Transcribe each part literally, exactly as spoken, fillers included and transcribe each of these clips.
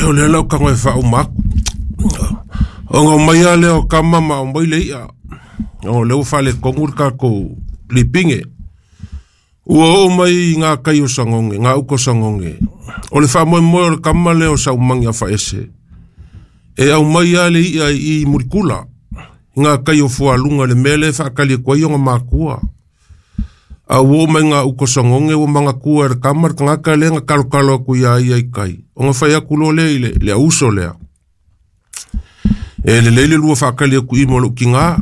O lea lau tago e faauma aku. Ona omai lava lea o kama ma aumai le i'a. O lea ua faaletonu le tatou lipige. Ua oo mai i gā kai o Sagoge, gā uka o Sagoge. O le faamoemoe o le kama lea o Saumagi Afaese. E aumai lava le i'a i i Mulikula. I ngā kai o Fualuga le mea lea e faatali atu ai ona makua. A ua oo mai gā uka o Sagoge ua manatua e le kama le tagata lea na talotalo atu iā ia i kai. Ona fai atu loa lea i le, le auso lea. E lelei le lua faatali atu i i mo lou tigā.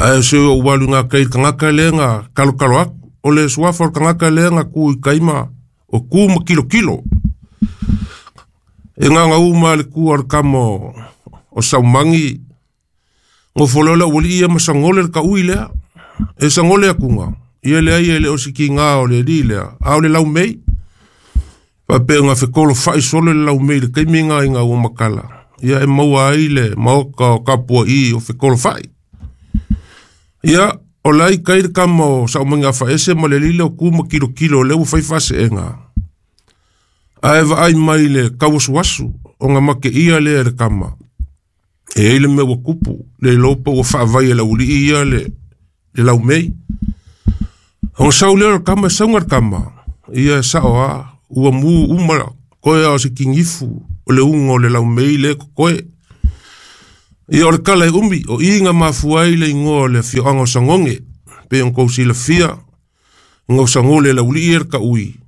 Ae se ou alu i ngā kai i le tagata lea na talotalo atu. O le suafa o le tagata lea na tu i kai ma o ku ma kilokilo. E gagaū ma le tu a le kama o, o Saumagi, gofo loa le aualii ia ma sagole le taui lea. E sagole akuga, ia leai e le o se kigā o le alii lea, a o le laumei. Faapea fekolofa'i solo le laumei i le taimi lena ina ua matala. Ia e maua ai le maota o tapua'i o fekolofa'i. Ia, o la i kai le kama o Saumagi Afaese ma le alii lea o tu ma kilokilo o lea ua fai faase'ega. Ae vaai mai le tauasuasu ona mateia lea e le kama. E i ai le mea ua tupu, le iloa pe ua faavai e le aualii ia le, le laumei. Ona sau lea o le kama e sauga le kama. Ia e sa'o lava, ua mu uma toe a o se kinifu o le uga o le laumei lea e totoe. Ia o le tala e umi, o i na mafua ai le igoa o le afioaga o Sagoge, pei ona tou silafia, ina ua sagole e le aualii ia le taui,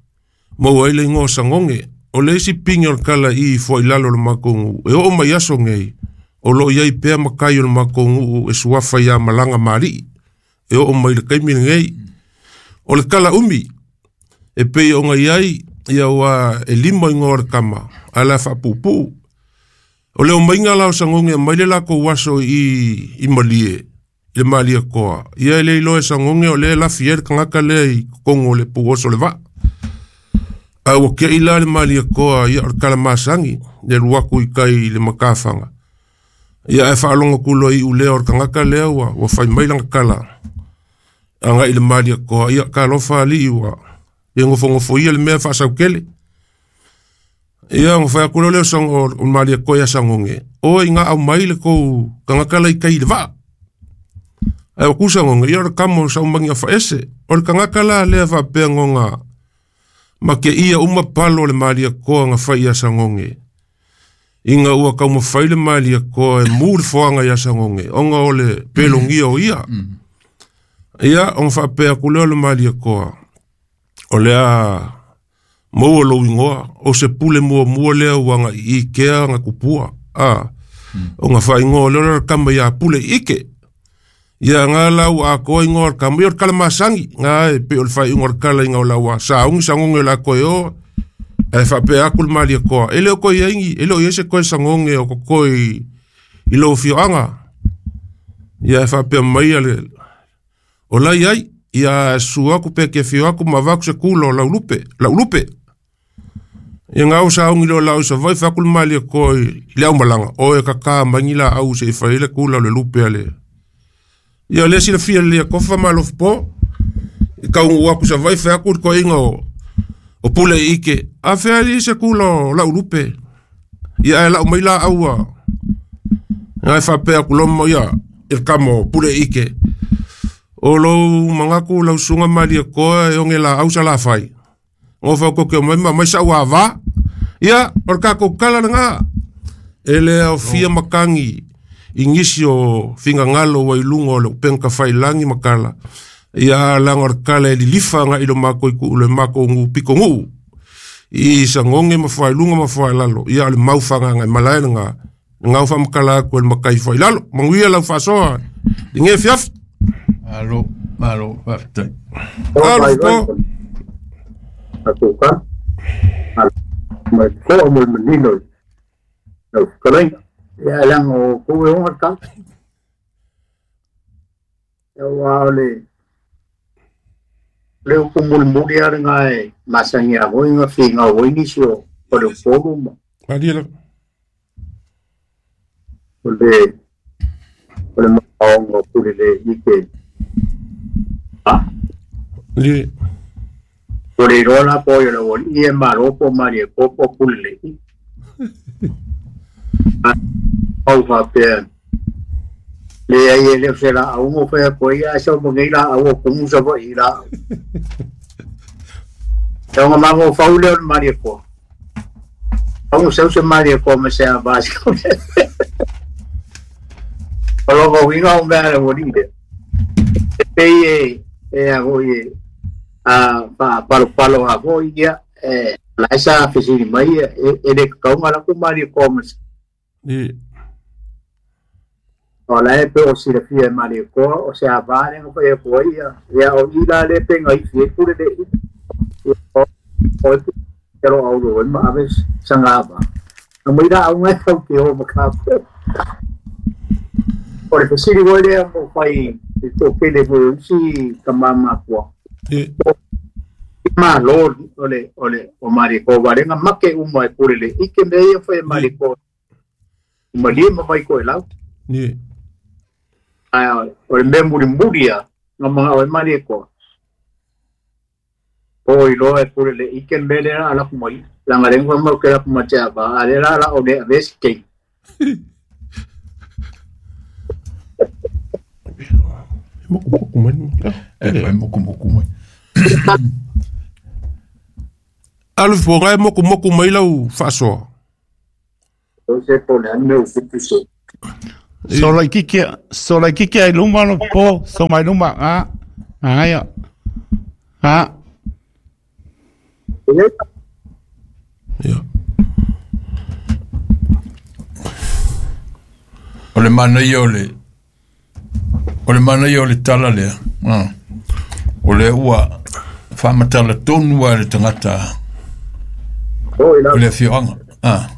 maua ai le igoa o Sagoge. O le isi pigi o le tala i i fuailalo o le matou nuu, e oo mai aso nei, o loo i ai pea matai o le matou nuu e suafa iā Malaga ma alii, e oo mai le taimi lenei. O le tala umi, e pei ona i ai, ia ua e lima igoa o le kama, ae o le a faapuupuu. O le omaiga la o Sagoge mai le latou aso i i Malie, i le Malietoa, ia e le iloa e Sagoge o lea e lafi ai le tagata lea i totonu o le puoso o le vaa. Ae ua te'i la le Malietoa, ia o le tala masani, le alu atu i tai i le matafaga. Ia ae faalogo atu loa i iulea o le tagata lea ua, ua fai mai lana tala agai i le Malietoa, ia talofa alii ua ia nofonofoia le mea faasautele. Ia ona fai atu loa lea o Sago, o le Malietoa ia Sagoge, oe ina aumai le tou tagata la i tai i le vaa. Ae ua tu Sagoge, ia o le kama o Saumagi Afaese. O le tagata la lea faapea ona mateia uma palo o le Malietoa na fai ia Sagoge. Ina ua taumafai le Malietoa e mu le foaga ia Sagoge, ona o le pelogia o ia. Ia, ona faapea atu lea o le Malietoa, o le a maua lou igoa, o se pule muamua lea ua agai i kea na tupua. A, ona faaigoa lea o le kama ia Pule Ike. Ia ngā la ua atoa igoa o le kama, ia o le kala masani, ngā e pei o le faaiuga o le kala ina o la ua sauni Sagoge o le a toe o, ae faapea atu le Malietoa, e le o toe i ai ni, e le o i ai se toe Sagoge o totoe i, i lou afioaga. Ia e faapea mai ia le, o la i ai, ia susu atu pe ke afio atu ma avatu se kula o Laulupe, Laulupe. Ia ngā o sauni lea o laau i Savaii, fai atu le Malietoa i, i le aumalaga, oe kaká mai ni laau se i fai ai le kula o le lupe a le. Ia o lea silafia lelei a Tofa ma Alofapo, i taunuu atu i Savaii, fai atu le toeaina o, o Pule Ike, a fea alii se kula o Laulupe. Ia ae lau mai laau a, nga e faapea atu loa ma ia, i le kama o Pule Ike. O lou manatu lau susuga Malietoa e oge laau Salafai. Gofo atu ke omai ma aumai sa'u avā. Ia, o le tatou tala lena. E le aofia matagi i nisi o finagalo ua i luga o le upega tafailagi ma tala. Ia, leaga o le tala e lilifa agai i lo matou itu le matou nuu pitonuu i Sagoge ma Fuailuga ma Fuailalo. Ia, o le mau faagagaemalae lena. Lena ua faamatala atu e le matai Fuailalo. Manuia lau faasoa i lenei afiafi. Malo, malo, faafetai. Alofa po. Tatou ka mai toa mo le manino i lau fetalaiga. Ia leaga o tou e oga le tala. Aua o le le upu mulimuli lava lena e masani lava foi ona finau ai nisi o o le Upolu ma Malie lava. O le o le manaoga o Pule le ike a Malie. Ua le iloa la po o ai o le aualii ia e malo po o Malietoa po o Pule le ike. Au faapea leai e le o se laauga o fai atu ai ae sau ma nei laau o kumu savaii laau. E ona mafaufau lea o le Malietoa. Au sau se Malietoa ma se avā se O lona uiga o mea a le ualii lea. E pei e e a foi e a faapalopalo a foi ia e la sa fesili mai e e le kakauga la ku Malietoa ma se O la e pe o silafia e Malietoa o se avā lea na fai atu ai ia ia o i la le pe gaifi ai pule le o o e ro au ro ma ave sanga ava. Na mai la au ngai tau te o ma ka po. O le fesili foi lea mo fai i toʻatele foi o isi tamā mapua. Malo o le o le o Malietoa valega make uma e pule le ike mea ia fai e Malietoa. Malie ma mai koe lau. Ni. Ae o le mea mulimuli a nga mga o e Malietoa. O iloa e pule le ike mea lea ala ku mai. Langa le ngwa mau ke la ku matea ba a le la la o le ave se. Moku moku mai. E moku moku mai. Alu fogai moku moku mai lau faasoa. O se po le ane o kupu se. So lai kiki so lai kiki ai luma lo po so mai luma a a ia. A. Ia. O le mana ia o le o le mana ia o le tala lea. Ah. O le ua faamatala tonu a le tagata o le afioaga. Ah.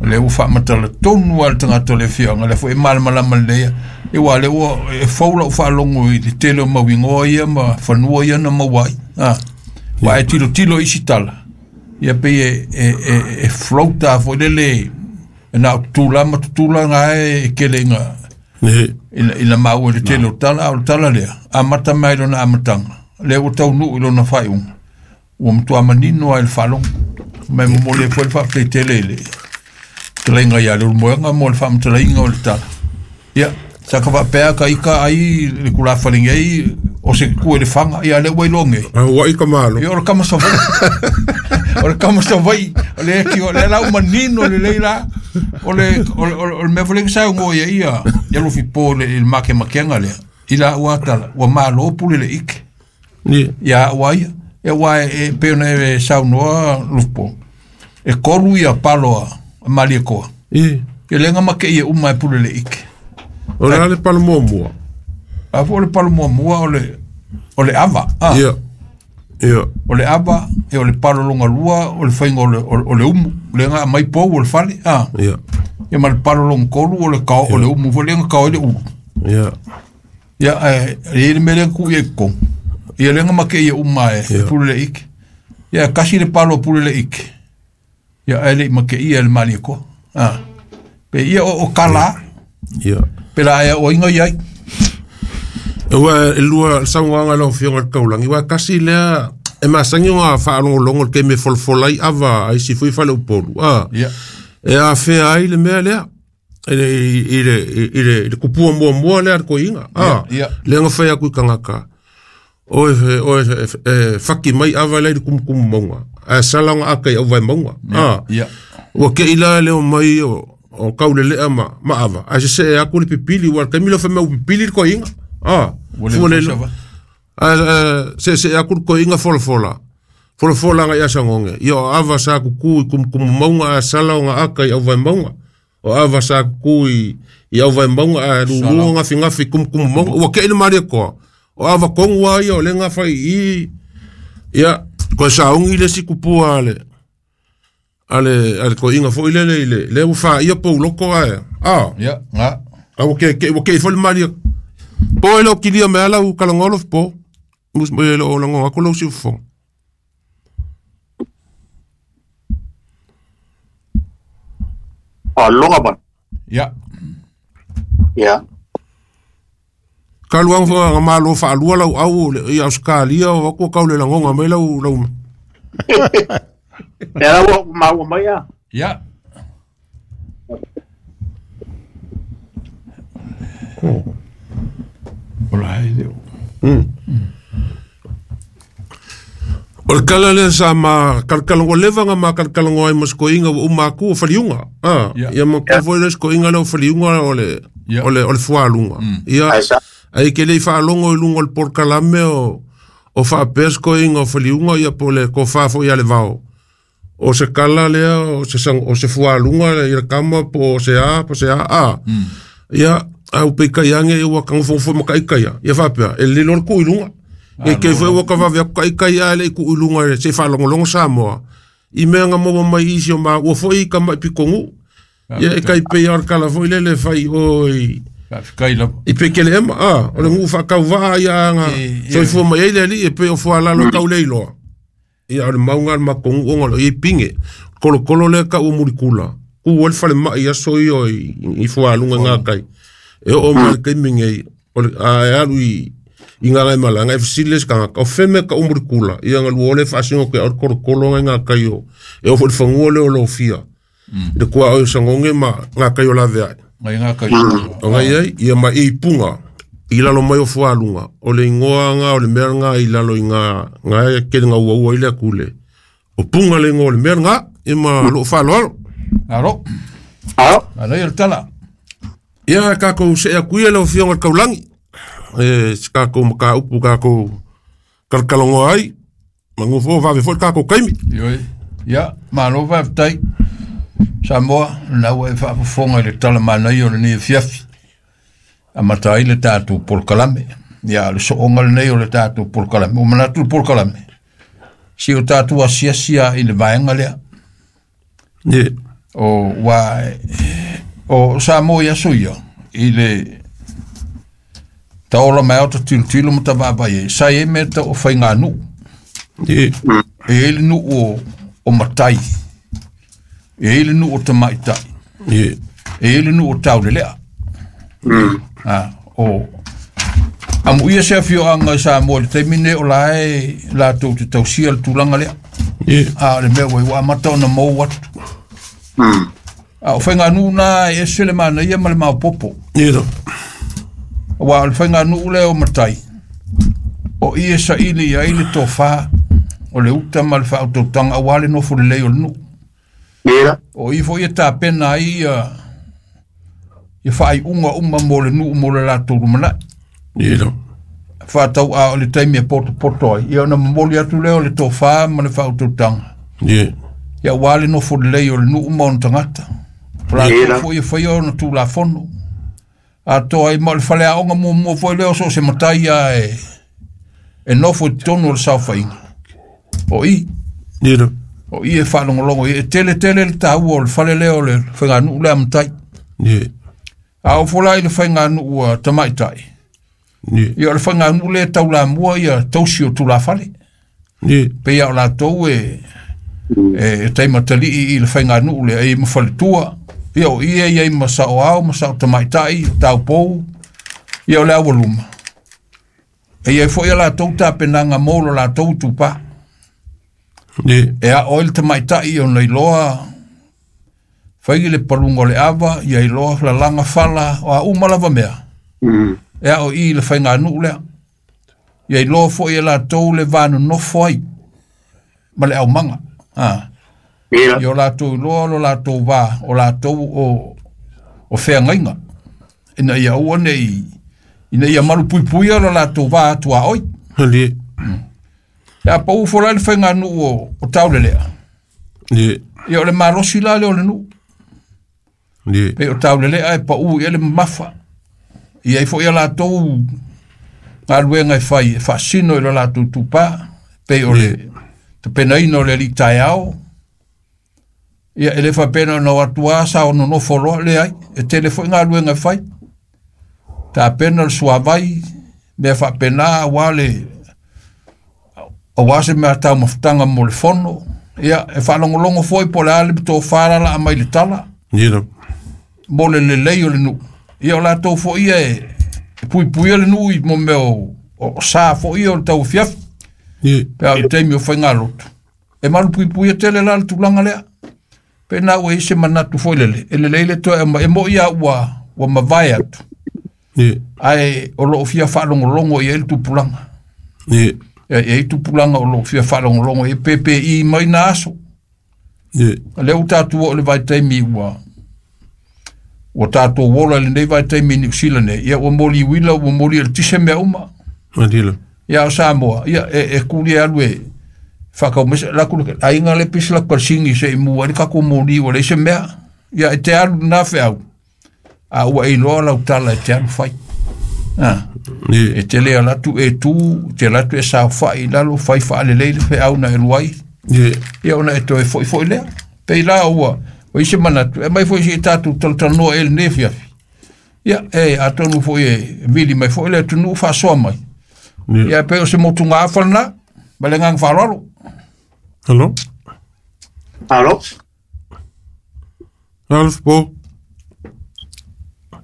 O le ua faamatala tonu a le tagata o le afioaga lea foi e malamalama lelei e ua le ua e fou lau faalogo i le tele o mauigoa ia ma fanua ia na maua ai. Ah. Ua e tilotilo isi tala ia pei e e e, e floata foi lele e na o tutula ma tutula gae e kele inga ina ina maua le tele o tala o le tala lea amata mai lona amataga lea ua taunuu i lona faaiuga ua matua manino ai le faalogo mai momoli ai foi le faafetai i le talaiga ia le ulumoega mo le faamatalaina o le tala ia saka faapea ka ika ai le kulafaligi ai o se ku e le faga ia le ua iloa ua ika malo ia o le kama savai o le kama savai o le ki o le lau manino lelei la o le o le o le mea foi lea sa ugo ia ia ia lufi po le le makemakega lea i la ua tala ua malo pule le ike ni ia ua ia e ua e pe ona e saunoa lufi e kolu ia palo a Malietoa i e lenga make ia uma e pule le ike o le ale palo muamua a fo le palo muamua o le o le ava ah ia ia o le ava e o le palo longa lua o le fainga o le o le umu lenga mai pou o le fale ah ia ia ma le palo longa kolu o le kao o le umu fo lenga kao le ulu ia ia e le mele ku ia ko ia lenga make ia uma e pule le ike ia kasi le palo pule le ike ia ele make ia le Malietoa ah pe ia o, o kala ia pe la ia o inga ia ua lua sauaga lau afioga le taulagi ua kasi lea e masagi oga faalogologo le taimi e folafola ai ava ai sifui faleupolu a ia e afea ai le mea lea i le i le i le i le kupua muamua lea le koiga a lea na fai aku i tagata o e o e e faki mai ava lea i le kumukumu mauga ae sala oga aka i auvae mauga a ua keʻi la leo mai o o kauleleʻa ma ma ava ae seseʻe aku le pipili ua le taimi lea fai mai ua pipili le koiga a fua le a se se aku le koiga folafola folafola agai asagoge ia o ava sa kuku i kumukumu mauga ae sala oga aka i auvae mauga o ava sa kuku i i auvae mauga ae luluga gafigafi i kumukumu mauga ua keʻi le Malietoa o ava kogu a ia o le gafai i ia koe saogi le isi kupua a le ale ale koiga foi lele i le le ua faia pouloko ae a ia ga a ua kekeʻi ua keʻi foi le Malie po e leo kilia mea lau kalagolo po mus mo e leo lago aku lau siufofoga Aloga ba ia ia kaluaga foaga malo faalua lau au i Australia o aku kau le lagoga mai lau lau Lea ua maua mai a ia O la e leo. O le kala lea sa ma kalakalango leva nga ma kalakalango ai ma sikoiga ua uma aku o faliuga a ia ma kua foi le sikoiga lea o faliuga o le o le o le fualuga ia ai ke le faalogo i luga o le polokalame o o faapea sikoiga o faliuga ia po le kofa foi ia le vao o se kala lea o se o se fualuga ia le kama po o se a po se a a ia au peikai age ua kagofogofo ma kaikaia ia faapea e lilo le kuʻu i luga e ke foi ua kavave aku kaikai a le kuʻu i luga e se faalogologo Samoa i mea nga maua mai isi o ma ua foi i kamaʻi pikoguʻu ia e kai pei o le kala foi lele fai oi i pekele ema a o le guʻu faakauvaa ia aga soifua mai ai le alii e pei o fualalo tau le iloa ia o le mauga le makoguʻu ona o loo iai pige kolokolo lea ka ua mulikula ku ai le falemaʻi aso ia i fualuga i gakai e oo mai le taimi nei o le a e alu i i ngā ngai malanga e fesili le sekagaka o feme ka umu kula ia nga lua ole faasingo ke o le kolokolo ngai ngā kai o e ofo le fagua le o lofia le kua o sangonge ma ngā kai o lave ai ngai ngā kai o ngai ai ia ma i punga i lalo mai o fualuga o le ingoa nga o le mea nga i lalo i ngā ngā e kele ngā ua ua i le akule o punga le ingoa o le mea nga ia ma loo faaloalo alo alo ia le tala ia kākou se aku ia le ofioga le kaulangi e se kākou makaupu kākou kalakalagoa ai magofo vave foi le kākou kaimi Ioi. Ia, malo faafetai Samoa, lena ua e faafofoga i le tala manaia o lenei afiafi amata ai le tatou polokalame. Ia, le sooga lenei o le tatou polokalame. Ua manatu le polokalame si o tatou asiasi a i le vaega lea Ie. O ua o Samoa i aso ia i le taola mai ao ta tilotilo ma tavaavaai ai sa iai mea tau o faiganuu Ie. e iai le nuu o, o matai e iai le nuu o tamaitai Ie. e iai le nuu o taulelea a o amuia se afioaga i Samoa i le taimi nei o la e latou te tausia le tulaga lea Ie. a o le mea ua ua amata ona mou atu a o faiganuu na e ese le manaia ma le maopopo Ie no. Ua o le faiganuu lea o matai o i e saili ai le tofā o le uta ma le faautautaga auā le nofo lelei o le nuu o i foi e tapena ai ia ia faaiuga uma mo le nuu mo le latou lumanaʻi Ie no. faatau a o le taimi e potopoto ai ia ona momoli atu lea o le tofā ma le faautautaga Ie. ia auā le nofo lelei o le nuu ma ona tagata o latou foi e faia ona tulafono atoa ai ma o le faleaoga muamua foi lea o so o se matai ia e e nofo i totonu o le saofaiga o i Ie no. o i e faalogologo i e tele tele le taua o le fale lea o le faiganuu lea matai Ie. a o fola i le faiganuu a tamaitai Ie. ia o le faiganuu lea e taulamua ia tausi o tulafale Ie. pei a o latou e e taimatalii i le faiganuu lea e i ma faletua ia o ia iai ma saoao ma sao tamaitai o taupou ia o le aualuma e iai foi a latou tapenaga mo lo latou tupā Ie. e ao ai le tamaitai ona iloa fai le paluga o le ava ia iloa lalaga fala o a uma lava mea e ao i le faiganuu lea ia iloa foi e latou le vanonofo ai ma le aumaga a ia o latou iloa lo latou vā o latou o o feagaiga ina ia aua nei ina ia malupuipuia lo latou vā atuaoi Ie. ia pau fola le faiganuu o, o taulelea Ie. ia o le malosi la lea o le nuu Ie. pei o taulelea e pau ia le mamafa ia ai foi ia latou galuega e fai e faasino i lo latou tupā pei o le tapenaina o le alii taeao ia e le faapena ona o atu a sa ona nofo loa leai e tele foi galuega e fai tapena le suavai mea faapena auā le auā se mea taumafataga mo le fono ia e faalogologo foi po o le a le tofā lalaa mai le tala Ie no. mo le lelei o le nuu ia o latou foi ia e e puipuia le nuu i mo mea o, o sa foi ia o le tauafiafi Ie. pe a o le taimi o faigalotu e malupuipuia tele la le tulaga lea pe na ua i se manatu foi lele e lelei le toe aumai e moʻi a ua ua mavae atu Ae o loo fia faalogologo i ai le tupulaga. Ia e ai tupulaga o loo fia faalogologo i P P I mai na aso. Lea ua tatou oo i le vaitaimi ua ua tatou ola i lenei vaitaimi i Niu Sila nei, ia ua moli uila ua moli e le tise mea uma. Ia o Samoa, ia e, e kuli e alu e whakaumese, laku aiga le pisi laku kalsingi se i mua le kako moli ua leise mea. Ia e te alu nā wheau, a ua e iloa lau tala e te alu whai. Ah, e te lea latu e tū, te latu e sao whai lalo, whai whaalelei le wheau na e luai. Ia ona e toe foi foi lea. Pei la ua, o ise manatu, e mai foi si e tātou talanoa e le nefiafi. Ia, e atonu foi e vili mai foi le tunu whasoa mai. Ia pe o se motu ngā awhalana, ma le ngang whalalo. Hello? Alo? Alf, po.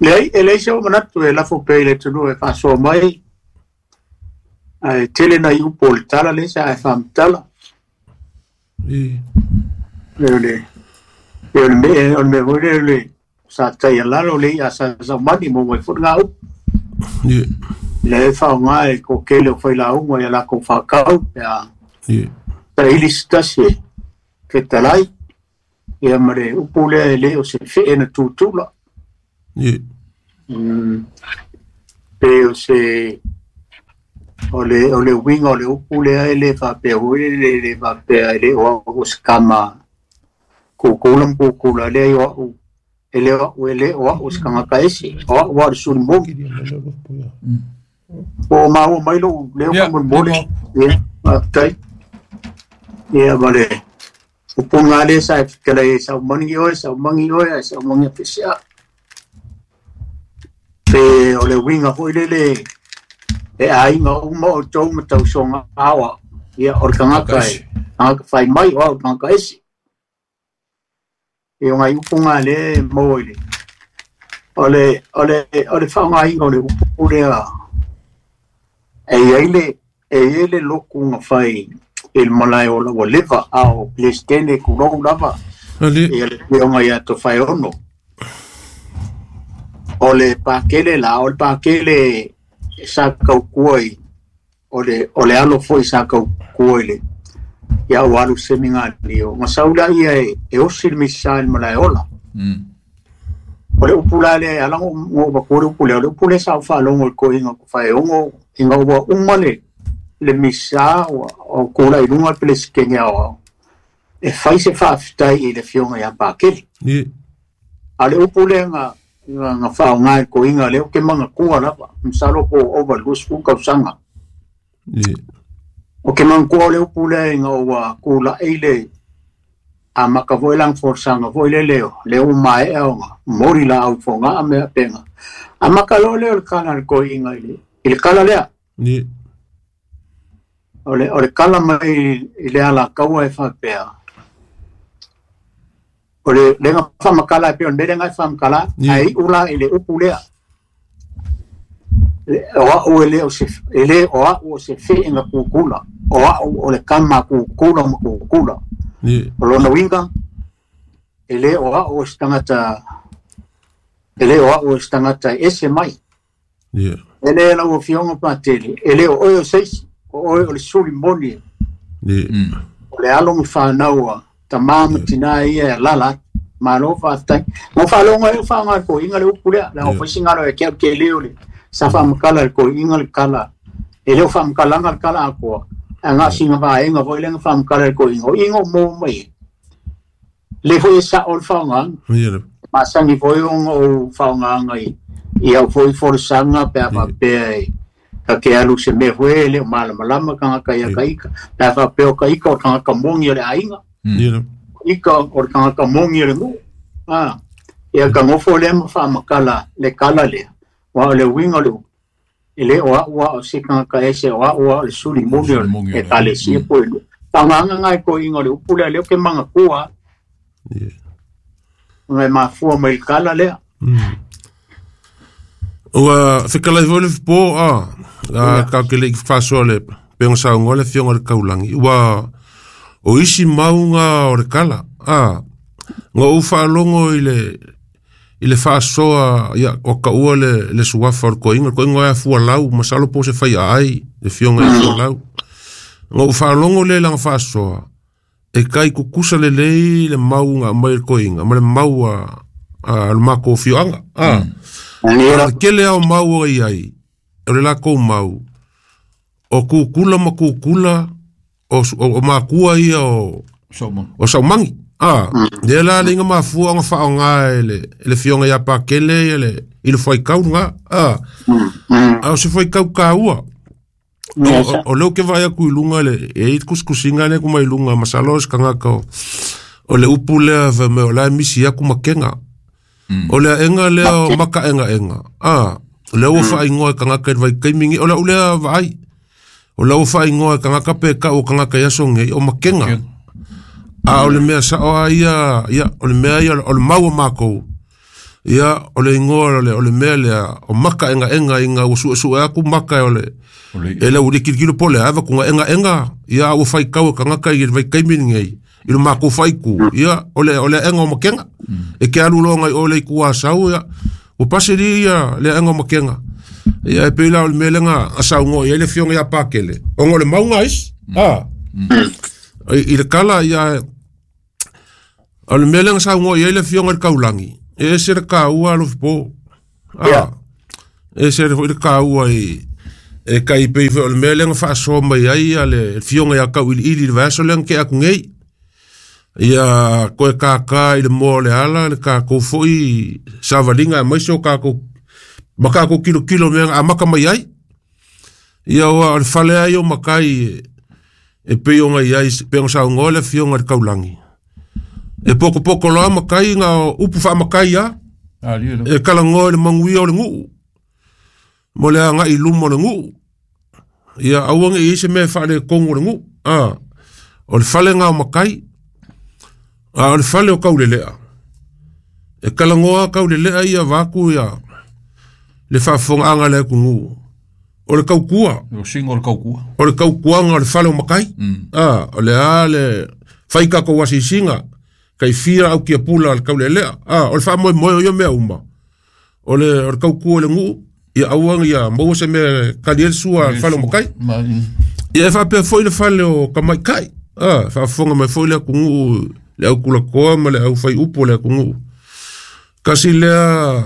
Leai, e leai se o manatu e lafo pe i le tunu e whasoa mai. Ai tele na iupo le tala le sa e whamtala. I. Le le, le le me, o le me hoi le sa tai alalo le ia sa sa mani mo mai fut ngā upu. I. Le e whao ngā e ko kele o whai la unga ia lako whakau. Ia. I. Ta ili stasi e fetalai. Ia mare upu lea e le o se whee na tūtula. I. Mm. Pe o se o le o le winga o le upu lea e le whapea hui le le le whapea e le o o skama kukula mkukula le o au e le o e le o au skanga kaesi o au o suri mo o ma o mai lo le o mo mole ye tai ye vale upunga le sa kala sa mangi o sa mangi o sa mangi fisia pe o le winga hoi le le e ainga uma o tau matau songa awa ia o le kangaka e kangaka whai mai o au kangaka esi e o ngai upunga le mo ile o le o le o le whaonga inga o le upu lea e ia ile e ia le loku nga whai e le malae o la leva ao plestene kurou lava e le pionga ia to whai ono o le pakele la o le pakele sa kaukua i o le o le alo foi sa kaukua i le ia o alu seminga ni o masaula ia e e osi le misa le malae ola. O le upula le ala ngo ba ko le upula le upula sa fa longo ko inga ko fa ongo inga ua uma le le misa o o ko la ilunga pele skenya o e fai se fa ftai i le fionga ia pakele. Ni a le upula nga nga fa nga ko inga le ke manga kua la msalo ko over lus ku ka sanga. Ni o ke manga kua le upula inga ua ko la ile a makavoilang forsanga voile leo le o mai e onga mori la au fonga me penga a makalo le o kana ko inga ile ile kala lea ni o le o le kala mai ile ala kaua e fa pea o le lenga fa makala pe on lenga fa makala ai ula ile upulea o o ele o se ele o o se fe inga kukula o o le kama kukula kukula. Ni o lona winga ele o o stangata ele o o stangata ese mai. Ni ele la o fionga patele ele o o seis o o le suli moni. Ni o le alo fa naua tamam tina ia lala malo fa tai mo fa longa e fa nga ko inga le upule la o singa lo e ke ke le o le sa fa makala ko inga le kala ele o fa makala nga kala ko anga singa va inga vo le fa makala ko inga inga mo mai le foi sa ol fa nga ma sangi foi o fa nga ngai ia foi forsanga pe fa pe ka ke alu se me foi le mala malama ka ka ia ka ika pe fa pe o ka ika o ka ka mongi le ainga ika o ka ka mongi le mu ah ia ka ngofo le ma fa makala le kala le wa le winga le ele o wa o se ka ka ese o wa le suli mongi e tale si po le panganga ngai ko inga le upula le ke manga kua ngai ma fua mai kala le. Ua fekalai foi le po a a ka ke le faso le pengo sa ngole fionga le kaulangi ua o isi maunga o le kala a ngo u whaalongo i le I le faasoa ia o kaua le le suafa o le koiga le koiga e fualau masalo po se fai ai le fioga e fualau ngo faalogo le laga faasoa e kai kukusa lelei le mauga mai le koiga ma le mau a a le mako fioaga a a kele ao mau ai ai o le lakou mau o kukula ma kukula o o makua ia o o saumangi a le la le nga mafua nga faonga le le fionga ya pakele le i le foi kau nga a a o se foi kau kaua o le ke vai ku ilunga le e kuskusinga le kuma ilunga masalo se kanga ka o le upu le va me o la misi ya kuma kenga o le enga le o maka enga enga a le o fa ingoa kanga ka vai kaimingi o la ule vai o la o fa ingoa kanga ka pe ka o kanga ka ya songe o makenga a o le mea sa o ia ia o le mea ia o le mau mako ia o le ingoa o le o le mea le o maka enga enga inga o su su aku maka o le e le uri kilo pole ava ku enga enga ia o fai kau kanga ka i vai kai mingi i le mako fai ku ia o le o le enga o makenga e ke alu longa o le ku asau ia o paseri ia le enga o makenga ia e pela o le mea lenga asau ngo ia le fionga ia pakele o ngo le maunga is a i le kala ia o le mea lenga sau ngo ia le fionga le kaulangi e se le kaua lo po a e se le kaua i e kai pe o le mea lenga faasoa mai ai ia le fionga ia kau iliili le vaiaso lenga ke aku ngei ia koe kākā i le moa o le ala le kākou foʻi savaliga aemaise o kākou ma kākou kilokilo mea amaka mai ai ia ua o le fale ai o makai e pei ona i ai pe ona saugoa le fioga le kaulagi e pokopoko loa makai ga upu faamakai a e kalagoa i le maguia o le guu mo le agaʻi luma o le guu ia aua ge i se mea faaletonu o le guu a o le falega o makai a o le fale o kauleleʻa e kalagoa kauleleʻa ia vaku ia le faafofogaaga le atunuu o le kaukua o singo o le kaukua o le kaukuaga o le fale o makai a o le a le fai kakou asisiga kai fia au kia pula le kauleleʻa a o le faamoemoe o ia mea uma o le o le kaukua o le guu ia auaga ia maua se mea kali ai le sua le fale o makai ia e faapea foʻi le fale o kamaʻikaʻi a faafofoga mai foʻi le atunuu le aukulakoa ma le aufaiupu o le atunuu kasi lea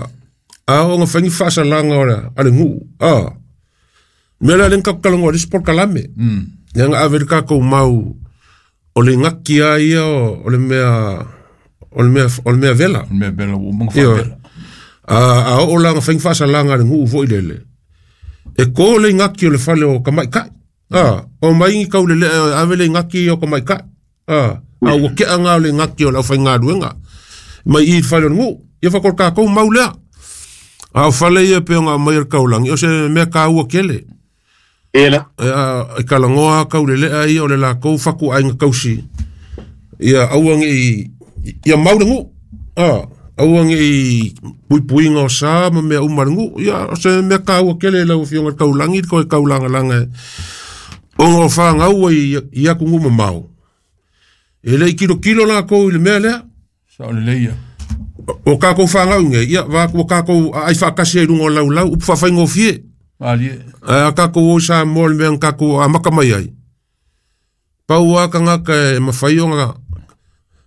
a o nga faigi faasalaga o le a le guu a mea lea lea kakukalagoa le isi polokalame lea ga ave le kakou mau o le gaki a ia o le mea o le mea o le mea vela o le mea vela ua maga faavela a a oo laga faigi faasalaga a le guu foʻi lele e kō le gaki o le fale o kamaʻikaʻi a o mai kauleleʻa ave le gaki o kamaʻikaʻi a a ua keʻaga o le gaki o le aufaigaluega mai i le fale o le guu ia fakolo kakou mau lea a o fale ia pe ona mai le kaulagi o se mea kaua kele ela e kalagoa kauleleʻa ia o le lakou fakuʻaiga kausi ia aua geʻi ia mau le guu a aua geʻi puipuiga o sa ma mea uma le guu ia o se mea kaua kele lau afioga le kaulagi le koe kaulagalaga ona o fagau ai i atunuu mamao e leʻi kilokilo lakou i le mea lea sa o lelei ia o kakou fagauga ia vaku o kakou aai faakasi ai luga o laulau upu faafaigofie a kakou o sa mo le mea kakou amaka mai ai pau a kagaka e mafai ona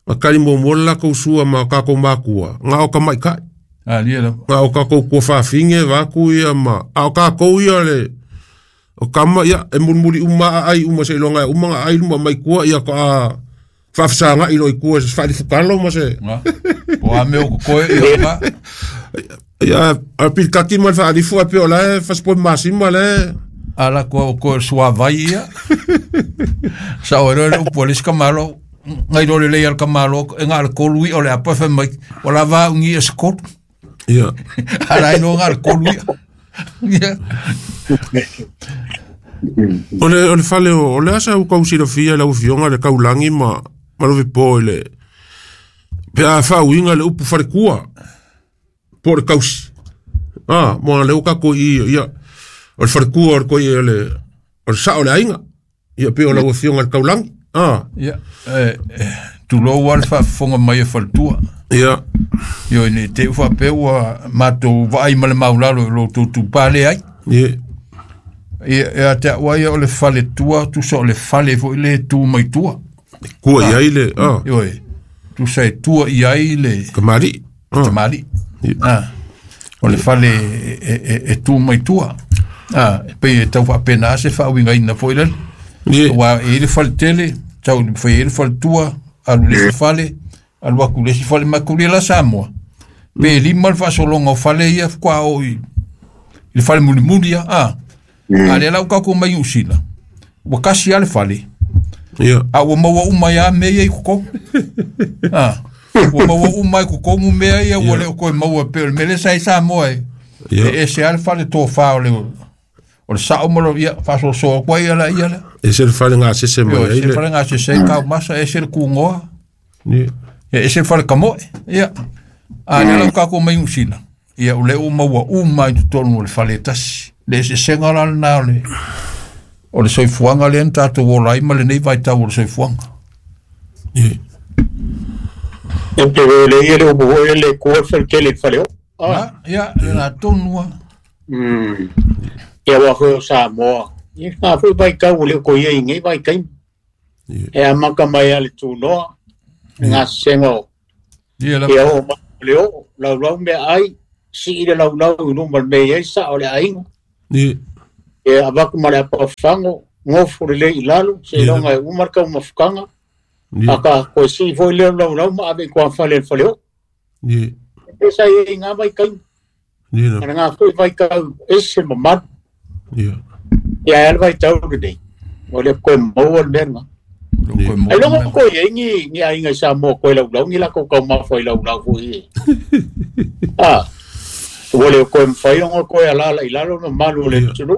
ga kali muamua le lakou sua ma kakou makua ga o kamaʻikaʻi ga o kakou kua fafige vaku ia ma a o kakou ia le o kama ia e mulimuli uma aai uma seiloga e uma ga aai luma mai kua ia ko a faafesagaʻi loi kua se faalifukalo ma se o a mea o kokoe ia ma ia a pilikaki ma le faalifu a pe o lae fasipoi masima le ala koa o koe suavai ia sa o ero le upu a le isi kamalo ngai lo lelei a le kamalo e ga le kolu ia o le apa fai mai o la vaaugi e se kolu ia ala ai no ga le kolu ia ia o le o le fale o le asa u kau silafia lau afioga le kaulagi ma ma lo vipo i le pe a faauiga le upu falekua po o le kausi a mo le o kako i ia o le falekua o le koi o le o le sao le aiga ia pe o lau afioga le kaulagi a ia e tulou a le faafofoga mai e faletua ia Ioe nei te ufa pe ua mātou vaai ma le maulalo i lo tūtū pāle ai. Ie. Ia e a te aua ia o le fale tua, tusa o le fale foi le tu mai tua. Kua i ai le, ah. Ioe, tusa e tua i ai le Kamari. Ah. Tamari. Ah. O le fale e, e, e, e tu mai tua. Ah, e pei e tau whaapena ase whaawinga ina foi lele. Ie. Wa e le fale tele, tau fai e le fale tua, alu le si fale, alu aku le si fale makuli la Samoa. Pe lima le faasolonga o fale ia kwa o i le fale mulimuli ia, ah. A le lau kako mai usila. Ua kasi a le fale. Ia. A ua maua uma ia mea ia i koko. Ah. Ua maua uma i kokomu mea ia, ua leo koe maua pe o le mele sa i Samoa e. Ia. E ese a le fale tōwha o le o le sao malo ia, whasosoa koe ia la ia le. E se le fale ngā sese mai Io, ai e se le. fale ngā sese kau masa, e se le kūngoa. Ie. Ia, e se fale kamoe. Ia. A le lau kako mai usila. Ia, o le uma ua uma i totonu o le fale tasi. Le se senga la lena o le o le soifuaga lea na tatou ola ai ma lenei vaitau o le soifuaga. Ie. E te le ia le upu foi le kua fale le fale o. Ah. Na, ia, le na tonu a. Mm. Ia wa foi o Samoa. Ia ngā foi vaitau o le ko ia i ngei vaitaimi. Ie. E amaka mai a le tūnoa, ngā senga o. Ia la Ia o ma le o, lau lau mea ai, si i le lau lau i luma le mea ai sa o le ainga. Ie. E avaku ma le apafango, ngofo le le i lalo, se Ia. longa e umar ka umafukanga, Ie. aka koe si foi le lau lau ma ave i kua fale le fale o. Ie. E sa i ngā vaitaimi. Ie na. Ana ngā foi vaitau ese mamalu. Ie. Ia e le vaitau lenei. O le koe maua le mea ngā. lo koe Ai longo mo. koe e ngi ngi ainga i Samoa koe lau lau ngi lako kau mafua i lau lau foi e. Ah. Ua le koe mwhai ongo koe a lala i lalo no malu o le Ia. tunu.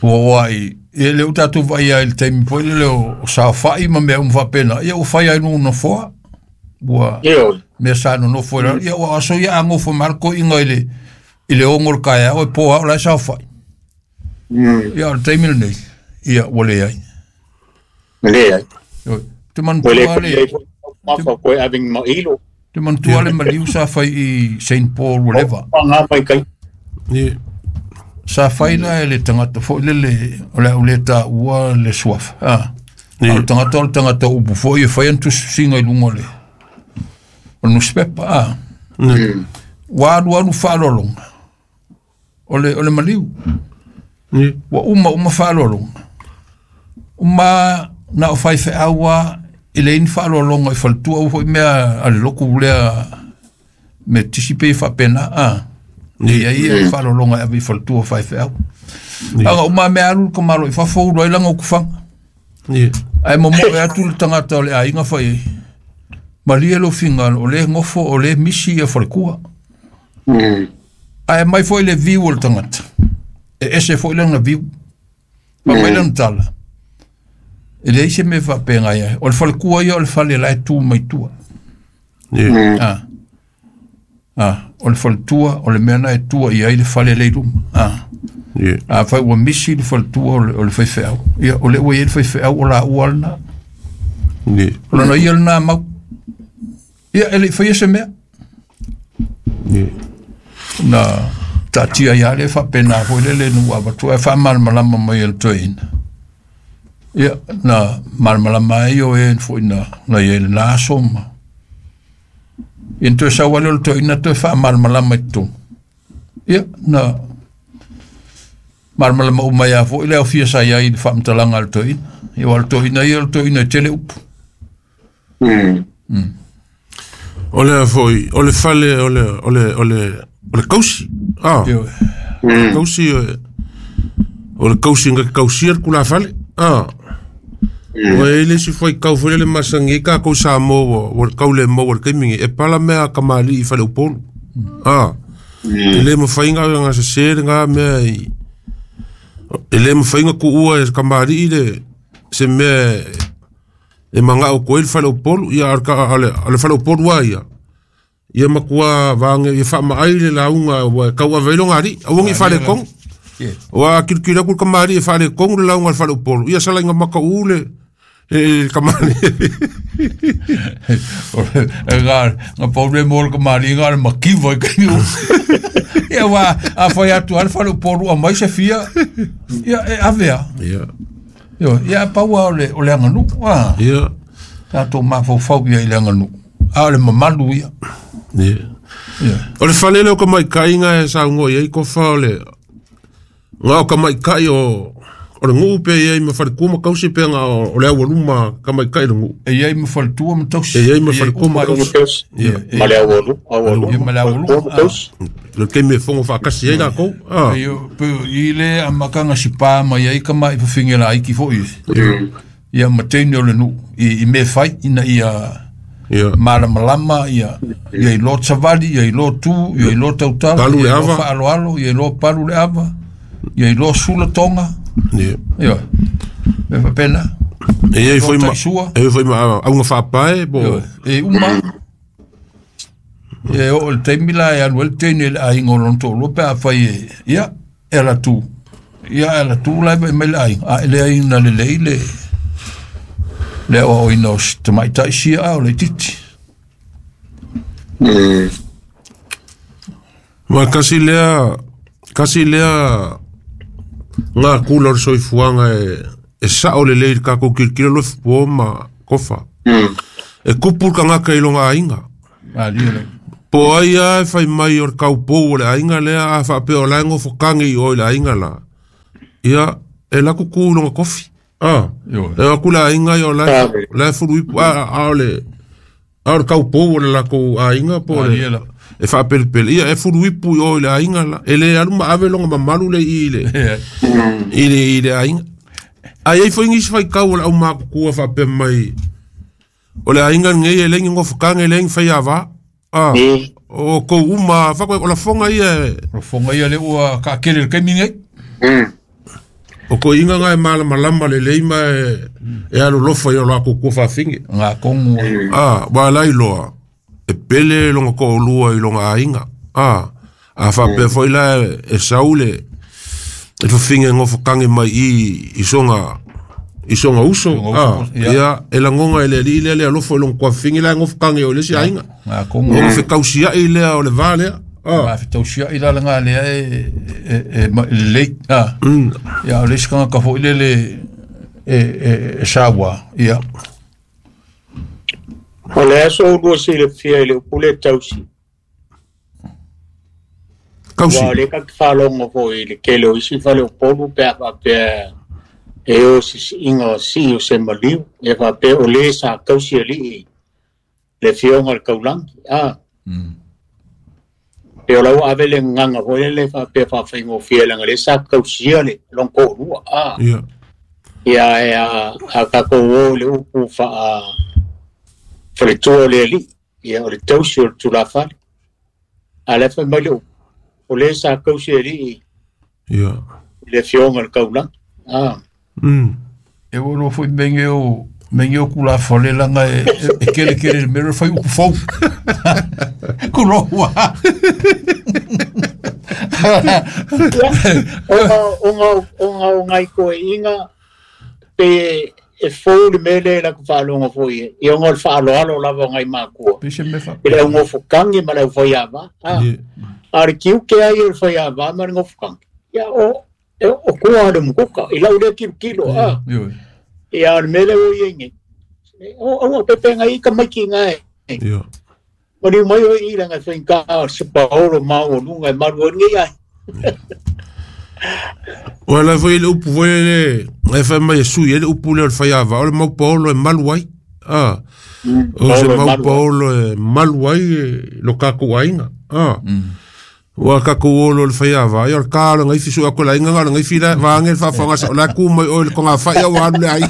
Ua ua i e le o tatou vai ai le taimi foi le o o saofai ma mea uma faapena. Ia ua fai ai luga nofoa. Ua Ia oi. mea sa nonofo i lalo. Ia ua aso ia a ngofo ma le koiga i le i le ogo o le kaeao e pō ao la e saofai. Mm. Ia o le taimi lenei. Ia ua leai. Le ai. Oi, Te Koe le manatua koe le le foi mafua koe aving ma ilo. te manatua le maliu sa fai i Saint Paul ua leva. Pa ngā mai kai. Ie. Sa fai la e le tangata foi le le o le au le taua le suafa. Ah. Ie. A o le tangata o le tangata upu foi e fai ana tusiga i luga o le o le newspaper. Ah. Ie. Ua alu alu faaaloaloga o le o le maliu. Ie. Ua uma uma faaaloaloga. Uma na o fai feaua e le ini faaaloaloga i faletua ua foi mea a le loku lea me tisi pe faapena. Ah. Ia ia faaaloaloga e ave i faletua fai feau. Aga uma mea alu le kamalo i fafo ulu ai laga o kufaga. Ie. Ae momoe atu le tagata o le aiga fai ai. Malie lo fingalo o le ngofo o le misi ia falekua. Mm. Ae mai foi le viu o le tagata. E ese foi lana viu. Ma mai lana tala. E leai se mea faapegai ai. O le falekua ia o le fale la e tu mai tua. Ie. Ah. Ah, o le faletua o le mea na e tua i ai le fale le i luma. Ah. Ie. A fai ua misi le faletua o le, o le faifeau. Ia, o le ua i ai le faifeau o la ua lena. Ie. O lona ia lena mau. Ia, e le i faia se mea. Ie. Na taatia ia le faapena foi le le nu avatua e faamalamalama mai e le toeaina. Ia, na malamalama ai o e foi na, na ia i lena aso ma. Ia na toe sau ale o le toeaina toe faamalamalama i totonu. Ia, na malamalama uma ia foi le aofia sa iai i le faamatalaga a le toeaina. Ia o le toeaina ia o le toeaina e tele upu. Mm. O le foi, o le fale, o le, o le, o le, o le kausi. Ah. Ia, O le kausi, o o le kausi nga kausi ar kula fale. Ah. O e le si foi kau foi le masangi ka kau sa mo o kau le mo o kaimingi e pala mea kamali i fale upolu. Ah. E le mawhainga o ngā se se ngā mea i e le mawhainga ku ua e kamali i le se mea e manga o koe le fale upolu ia ar ka ale ale fale upolu a ia. Ia makua vaange ia wha maai le launga ua kau avelo ngari awangi fale kong. Ia. Wa kirikiri aku kamari e fale kong le launga le fale upolu. Ia sala inga maka u le E kamali. E ngā ngā problema o le kamali ngā le makiva i kaimi. Ia wa a fai atu ale fale upolu a mai se fia. Ia e avea. Ia. Io ia paua o le o le aganu. Ah. Ia. Tatou mafaufau ia i le aganu. A o le mamalu ia. Ia. Ia. O le fale leo ka maikaiga e saugoa i ai kofa o le ngā o ka maikai o o le nguu pe iai ma faletua ma kausi pe ngā o le aualuma ka maikai le nguu. E iai ma faletua ma tausi. E iai ma faletua ma tausi. Ia. Ma le aualu, aualu. Ia ma le aualu. Tausi. Le keime fongo whaakasi ai lākou. Ah. I le amakanga sipa ma iai ka mai whawhinge la aiki fo i. Ia ma teine o le nuu. I me whai ina ia malamalama, ia ia i lo savali, ia i lo tu, ia i lo tautala, Palu ia le i lo ava. whaaloalo, ia i lo palu le ava, ia i lo sula tonga. Ia. Ia. Me whapena. E iai foi ma Taisua. e foi ma aunga whaapae po. E uma. E o le taimi la e alu ele teine le aiga o lona toalua pe a fai e ia e ala tu. Ia e ala tu la e mai le aiga. A e le aiga na lelei le le aoaoina o si tamaitai sia a o le itiiti. Ma kasi lea kasi lea ngā kula o le soifuaga e e sao lelei i le kakou kilokilo lo fua ma kofa. E kupu le kagaka i loga aiga. Malie le. Po ai a e fai mai o le kaupou o le aiga lea a faapea o la e gofokage i o i le aiga la. Ia e laku ku i loga kofi. Ah. Ioe. E aku le aiga ia o la la e fulu ipu a a o le a o le kaupou o le lakou aiga po o Malie le la. e faapelipeli ia e fulu ipu i o i le aiga la. E le alu ma ave loga mamalu le i le i le i le aiga. Ai ai foi ngisi fai kau o le au makukua faapea mai o le aiga lenei e le gofokage e le fai avā. Ah. O kou uma whako o la fonga ia e O fonga ia le ua ka kele le kaimi nei. o ko inga ngai mala malama le leima e e alo lofa ia la ko ko whawhinge. Ngā kongu. Ah, wa lai loa. E pele longa ko olua i longa ainga. Ah, a whapea foi la e saule e whawhinge ngofokange mai i i songa i songa uso. Songa Ah, uso, ia. ia e langonga e le li le le alofo i longa kwa whinge la ngofokange o le si ainga. Ngā kongu. O whekausia i lea o le vā lea. Ah. Ma fetausia i la ngā lea e e e ma le ah. Mm. Ia o le sikanga ka foi le le e e e sawa. Ia. O le aso ulua silafia i le upu le tausi. Kausi. Ua o le ka whalongo foi i le kele o isi fale o polu pe a faapea e o sisiiga o sii o se maliu e faapea o le sa kausi alii le fioga o le kaulagi. Ah. Pe o lau ave le gagaga foi le faapea faafaigofie laga le sa kausia le lona toalua. Ah. Ia. Ia e a a tatou o le upu faa faletua o le alii. Ia o le tausi o le tulafale. A le fai mai le upu o le sa kausi alii Ia. le fioga o le kaulagi. Ah. Mm. E o lo foi menge o menge o kula fale langa e e kele kele le mero fai uku fou. Kulo wa. Ona ona ona o ngai ko inga pe e fou le mele la ku whalonga foi e. I onga o le whaaloalo lava o ngai mākua. Pe se me fa. I le au ngofokangi ma le au whaiava. Ah. Ia. A le kiu ke ai o le whaiava ma le ngofokangi. Ia o e, o kua le mukuka. I lau le kilo kilo. Ah. Io. Ia o le mele o i nge. O o pepe ngai ka maiki ngai. Ia. O ni mai o i langa whainga o se paolo mau o lunga e maru o ngai ai. O la foi le upu foi le e fai mai e sui e le upu le o le whai ava o le mau paolo e malu ai. Ah. O se Paolo e mau malu ai. paolo e malu ai e lo kakou ainga. Ah. Ua kakou olo le whai ava ai o le kā o le ngaifi sua ko la inga o le ngaifi la vaange le whawhanga sa o la ku mai o le konga whai au alu le ai.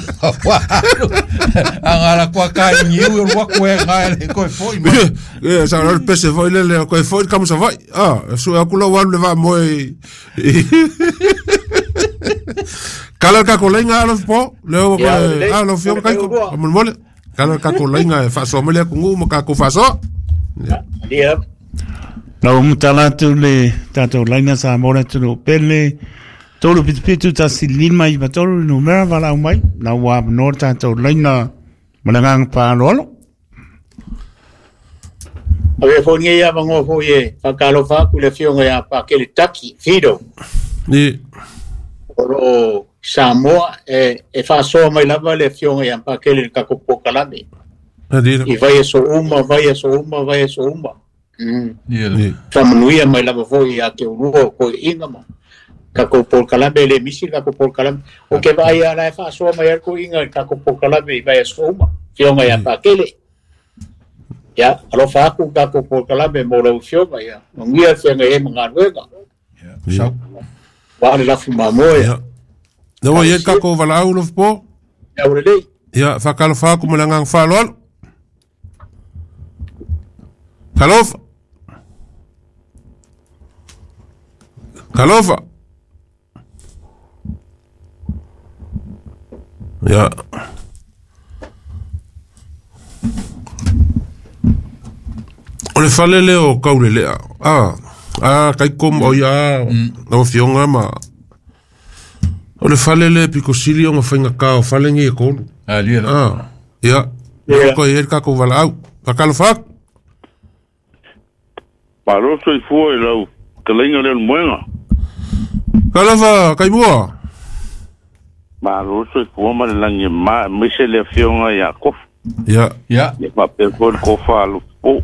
A ngā la kua ka i niu o lua koe ngā le koe foi ma. E sa o le pese foi le le koe foi kamu sa vai. Ah, sua aku la alu le va moe. Kala ka ko lenga alo po, le o Ia, o le- alo fio o le kai ko. lua. Mo mole. Kala ka ko lenga e faso mele ku ngu mo ka ko faso. Ia. Lau mutala atu le tātou laina sa mora tunu pele Tolu pitu pitu tasi lima iva tolu numera valaau mai na ua avanoa le tatou laina ma le agaga paaloalo. Avea foi lenei avanoa foi e faatalofa atu i le afioga ia Pakele Taki Fido Ni. O loo Samoa e e faasoa mai lava le afioga ia Pakele i le tatou polokalame i vaiaso uma vaiaso uma vaiaso uma. Mm. Faamanuia mai lava foi ia te ulua o koeʻiga ma tatou polokalame e lē misi le tatou polokalame o ke vaai a la e faasoa mai ai le koeʻiga i le tatou polokalame i vaiaso uma afioga ia Pakele. Ia alofa atu tatou polokalame mo lau afioga ia manuia le feagai ai ma galuega. Ia. Ua le lafi mamoe. Ia. Na ua i ai tatou valaau Lofipo. Ia ua lelei. Ia faatalofa atu ma le agaga faaaloalo. Talofa. Talofa. Ia. O le fale lea o Kaulelea. Ah, ah kaikom o ia lau afioga ma o le fale lea piko sili ona faigata o fale nei e tolu. Ah, lia la. Ah, ia. Ia. Ko i ai le tatou valaau. Faatalofa atu. Malo soifua i lau fetalaiga lea o le moega. Talofa Kaimua. Malo soifua ma le lagi e ma aemaise le afioga ia Kofa. Ia. Ia. Ia faapea foi le Kofa a Lofipo.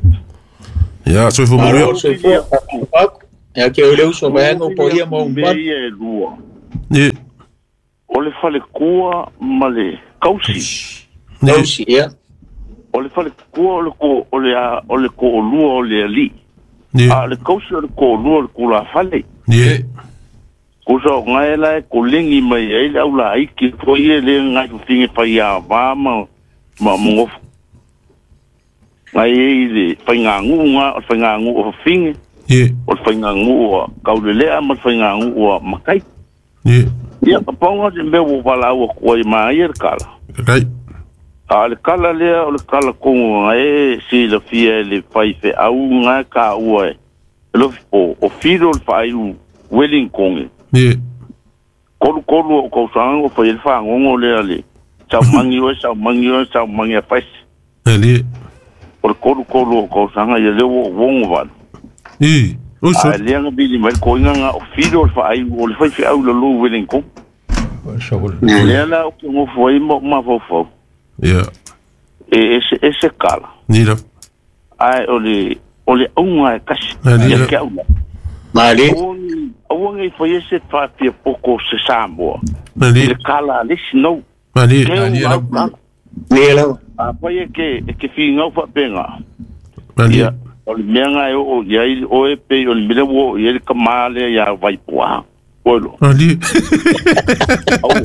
Ia, soifua manuia. Malo soifua faatalofa atu ia te oe le uso vaeaga o paia ma ou Mea mamalu. ia e lua. Ni. O le falekua ma le kausi. Ni. Tausi ia. O le falekua o le ko o le a o le koʻolua o le alii. Ni. A o le kausi o le koʻolua o le tulafale. Ni. Kusa o ngai la e kolegi mai ai le au laiki foi e le ngai fafine faiāvā ma ma mogofu. Ngai e i le faigāguʻu ga o le faigāguʻu o fafine Ni. o le faigāguʻu a Kaulelea ma le faigāguʻu a Makai. Ni. Ia ka pauga se mea ua valaau atu ai maia le kala. Kai. A o le kala lea o le kala kogo ga e silafia e le faifeau ga e kāua e Lofipo o Filo le faaiu Wellington. Ni. Kolukolu o kausaga o fai ai le fagogo lea le saumagi oe saumagi oe saumagi a faisi. Ni. O le kolukolu o kausaga ia lea ua ou ogo valu. Ni. Oi A so. lea ga vili mai le koiga ga o Filo le faaiu o le faifeau i lalou Wellington. Sa Lea la ou te gofo ai ma ou mafaufau. Ia. E ese ese kala. Ni la. Ae o le o le auga e kasi. Ni Ia la. ke au la. Mali. Aua nei fai e se faafia poko se Samoa. I Ni. le kala a le isi nau. Ni. Ke Ali au la. au kala. Ni lava. A fai e ke e ke figau faapega. Ni. Ia o le mea ga e oo i ai oe pei o le mea lea ua oo i ai le kamā lea iā Vaipuā. Oe loa. Ni. Aua.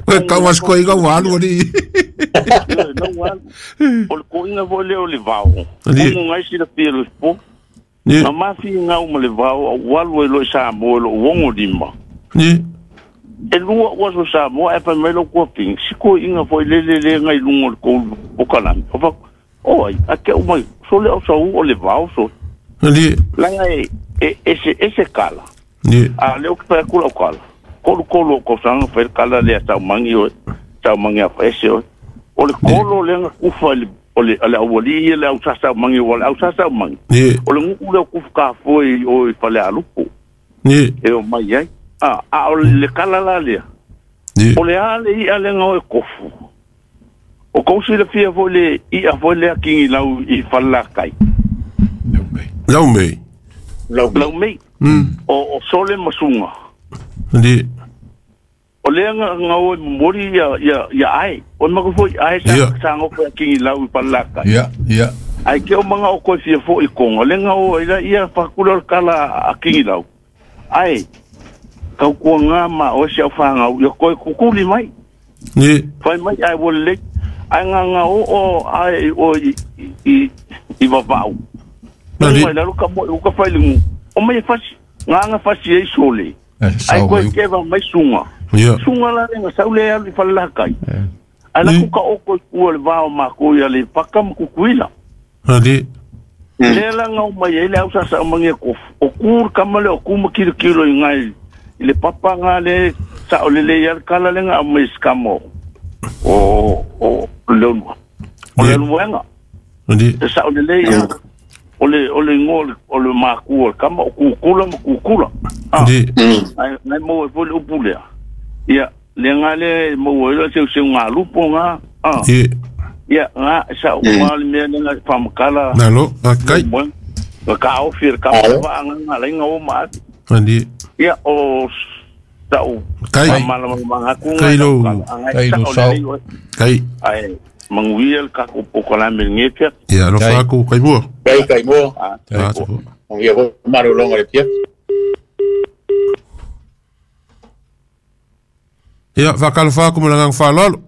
Koe kawas koe i kau alu ni. Ioe, nau alu. O le koiga foi lea o le vao. Ali. Kogo gai silafia le po. Ni. Na mafigau ma le vao au alu ai loa i Samoa i loo ogo lima. Ni. E lua ua aso Samoa ae fai mai lau kuapiga si koiga foi lele le gai luga o le kou pokalame. O fa o ai a ke au mai so le au sau o le vao so. Ni. Laga e e ese ese kala. Ni. A le o ke fai atu lau kala. Kolukolu o kausaga fai le kala lea saumagi oe saumagi a faese oe. O le kolo lea ga kufa i le o le o le aualii ia le au sasaumagi ua le au sasaumagi. Ni. O le guʻu lea o kufu kafoe i o i Falealupo Ni. e o mai ai. A a o le kala la lea. Ni. O le a le i'a lea o e kofu. O kou silafia foi le i'a foi lea kigilau i Falelakai. Lau mei. Lau. Lau mei. Mm. O o sole ma suga. Ni. O lea ga ga o e momoli ia ia ia ae. O mako foi ae sa Ia. sa ngofo ia kigilau i Falelakai. Ia, ia. Ai ke o manga o koe fia foi i konga. Le nga o ila ia whakura o le kala a kigilau. Ai, kau kua ngā ma o se au whangau, ia koe kukuli mai. Ni. Whai mai ai o le, ai ngā ngā o o ai o i, i, i, i vavau. Ni. Mai lalo ka mo uka whai le ngu. O mai e fasi, ngā ngā fasi ei sole. Eh, Ai Sau koe mai. kewa mai sunga. Ia. Sunga la lenga sau le alu i whalelakai. Ai la Ni. kuka o koe kua le vao mā koe ia le paka ma kukuila. Ni. Lea la ngau mai ai le au sasa o mangi e kofu. O kūr kama le o kūma kilo kilo i ngai I le papa le sa o le le ia kala le nga mai skamo o o le o le luenga ndi sa o le le ia o le o le ngo o le maku o kama o kukula ma kukula ndi ai nai mo e pole upule ia le nga le mo e se se nga lupo nga ah ia nga sa o le me nga pamakala nalo kai ka o fir ka va nga nga le nga o ma ndi ia o tau kai kai lo kai lo sao kai ai manguia ka ko pokola melngepia ia lo fa ko kai mo kai kai mo ah ia ko maru longa le pia ia fa kalfa ko mala fa lolo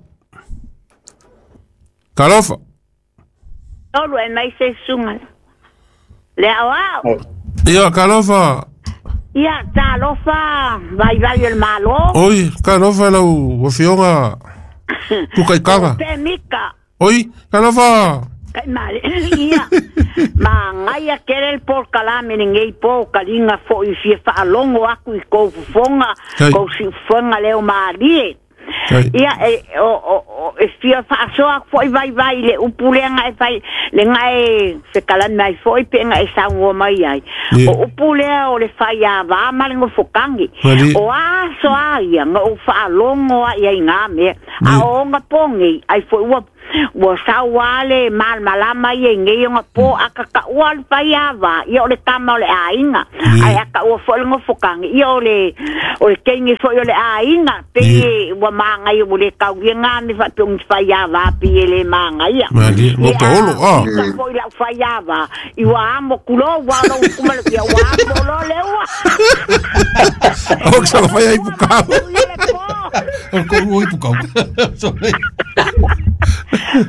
kalofa lolo e mai se sunga le awao ia kalofa ia talofa vai vai el malo oi kalofa lau o fionga tu kai kaga pe mika oi kalofa kai male ia ma ngai a kere el por kalame ngei po kalinga fo i fia fa longo aku i ko fonga ko si fonga leo malie ia e o o e fia fa so a fo i vai vai le upulenga e fai le ngai se kalan mai fo i penga e sango mai ai o upulea o le fai a va ma le ngofokangi o a so a ia ngo fa longo a ia nga me a o nga pongi ai fo ua ua sauale mal malama ia ngai nga po akaka ua le fai a va ia o le tama o le ainga ai aka ua fo le ngofokangi ia o le o le kengi fo o le ainga pe ua manga ia le kau ia nga me fa pung fai a va pe le manga ia mali mo paolo ah fo ila fai a va i wa amo kulo wa lo kuma le ia wa amo lo le ua o sa fai ai pukau o ko ui pukau sorry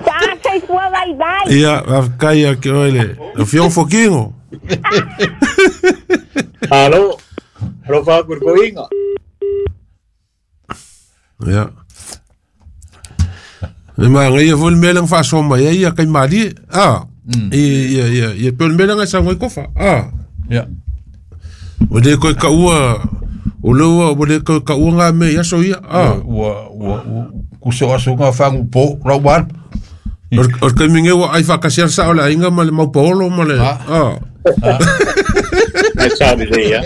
tá sei fua vai vai ia kai a que ole o fion foquinho alo alo fa kurkoinga ia e ma ngai fo le melang fa soma ia ia kai mali ah ia ia ia pe le melang sa ngoi kofa ah ia o de ko ka ua o le ua o de ko ka ua nga me ia so ia ah ua ua ku so aso nga fangu po ra wan o que minge wa ai fa kasiar sa ola inga ma le mau paolo ma le ah ai sabe ia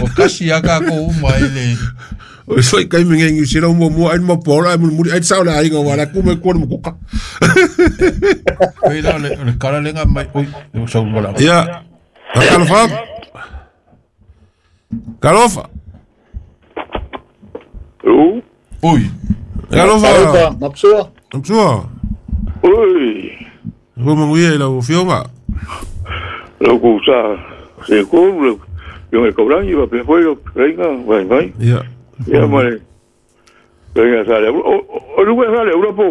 o kasia ka ko mai le o foi kai minge ngi sira mo mo ai mo paolo ai mo ai sa ola inga wala ku me ko mo kuka pera le le kala lenga mai oi o sa wala ia kalofa kalofa o oi kalofa kalofa mapsua mapsua oi ko manguia ila o fionga lo ku sa se ko lo yo me cobran iba pe foi venga vai vai ia ia mare venga sale o o luego sale Europa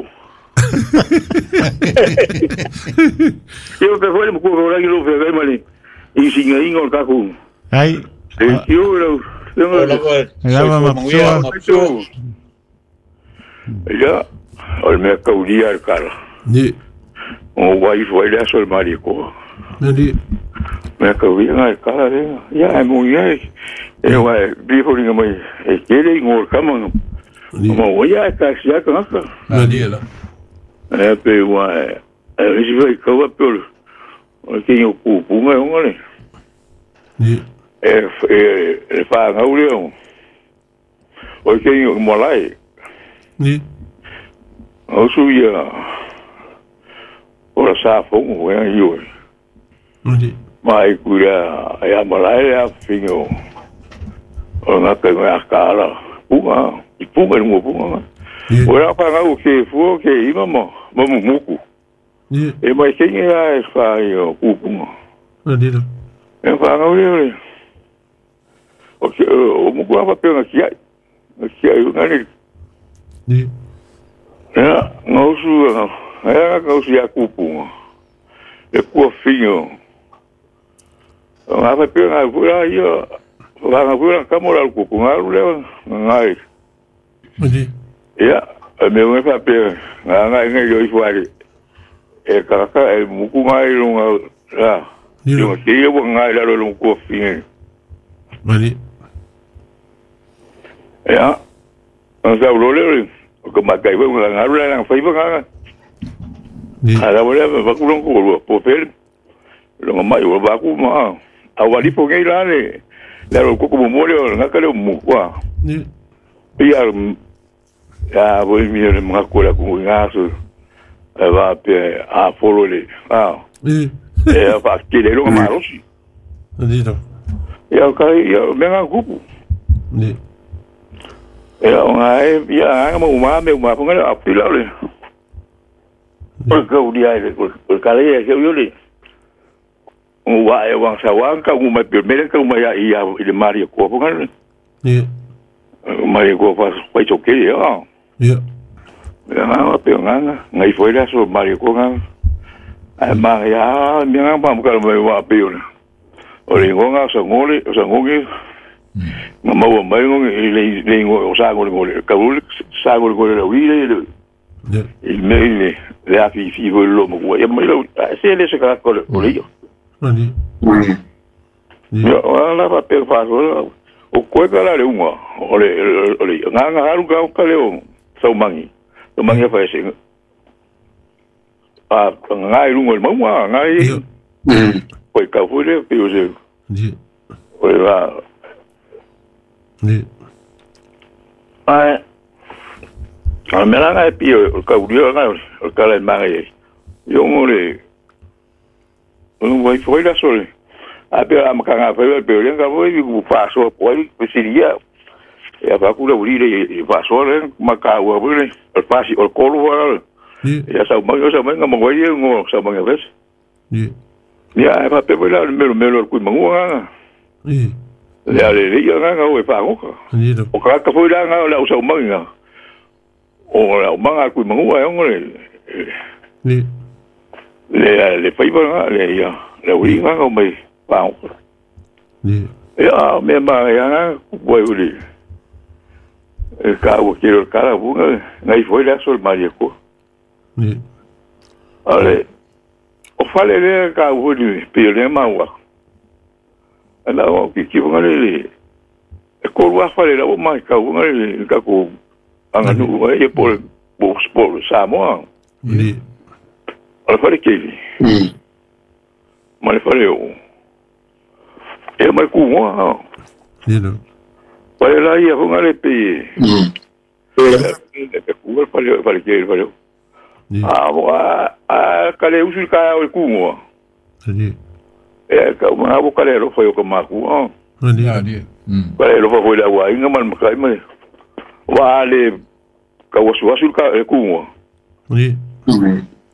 yo pe foi mo ko la lo fe male i singa ingo ka ku ai yo lo la mapsua ya o me caudia el cara ni o vai foi le sol marico ni me caudia el cara ya é muy bien e vai vivo ni mai e quere ngor kama mo voy a casia con acá ni la e pe vai e si vai ko pe o que yo ku me ngole ni e e fa ngaulio o que yo molai ni o suia ora sa fongo e io ni mai kura ia malai a fingo o na pe me akala punga i punga mo punga ora pa ngau ke fu ke ima mo mo muku ni e mai kingi a fa io ku punga ni e fa ngau le o ke o muku apa pe nga kia kia ngani ni ya ngau su ya ngau su ya ku punga e ku fingo nga fa pe nga kura io nga kura kamora ku punga le ngai ni ya me me fa pe nga nga nga yo ifuari e kaka e muku ngai lo nga la yo ke yo ngai la lo ku fingo mani Ia sa ulo le o ka makai foi nga ngaru la nga faiva nga. Ala wala va ku longo ko po pel. Longa mai o va ku ma. A wali po ngai la le. La ro ko ko mo le nga ka le mo kwa. Ni. Ia ya voi mi le mga ko la ku nga so. Va pe a folo le. Ah. Ni. E va ke le longa ma rosi. Ni do. Ia ka ia me nga kupu. Ni. Ia nga e ia nga mo ma me ma ponga a pila le. O ka u dia le o ka le ye yo le. O wa e wa sa wa ka u ma pe me ka u ma ya ia ile mari ko ponga le. Ni. Mari ko fa fa to ke ya. Ia. Ia nga pe nga nga i foi la so mari ko nga. A ma ya me nga pa mo ka me wa pe yo. O le ngonga sa ngole sa ngonge. Nga maua mai ngonge le le ngo o sa ngole ngole ka ul sa ngole ngole la wi le. Il me le le a fi fi vo lo mo ko ya mai lo se le se ka ko le yo. Ani. Yo ala pa pe fa so o ko ka la le unga o le o le nga nga haru ka ka le o sa mangi. O mangi fa se. A nga i lungo mo nga i. Ko ka fu le pe o se. Ni. O la Ni. Ai. A me la ngai pi o ka uri ngai o ka le mangi. Yo mo le. O vai foi la sole. A pe a maka nga fe pe le nga voi ku paso po ai pesiria. E a pa ku le uri le paso le maka u le o pasi o kolu wa. Ya sa mo sa mo nga mo ye ngo sa mo nga ves. Ni. Ya pa pe la melo melo ku mangu nga. Ni. Le ale le nga nga o pa ngo. Ni do. O ka ka foi la nga la usa manga. O la manga ku mangu ai ngo le. Ni. Le le fai ba le ya le uri nga ngo mai pa ngo. Ni. Ya me ma ya nga ku uri. E ka o ke ro kala bu nga ngai foi la sol mari ko. Ni. Ale o fale le ka uri pe le ma wa. Ana o ki ki nga le e ko wa fale la o mai ka nga le ka ko anga nu e por por por Samoa. Ni. Ala fale ke li. Ma le fale o. E mai ku wa. Ni no. Fale la ia nga le pe. E pe ku fale fale ke fale. Ah wa a ka le usu ka o ku wa. Ni. E ka ma bo ka le ro foi o ka ma ku. Ni. Ni. Ka le ro foi la wa inga man ka mai. Wa le ka wasu wasu ka e ku wa. Ni.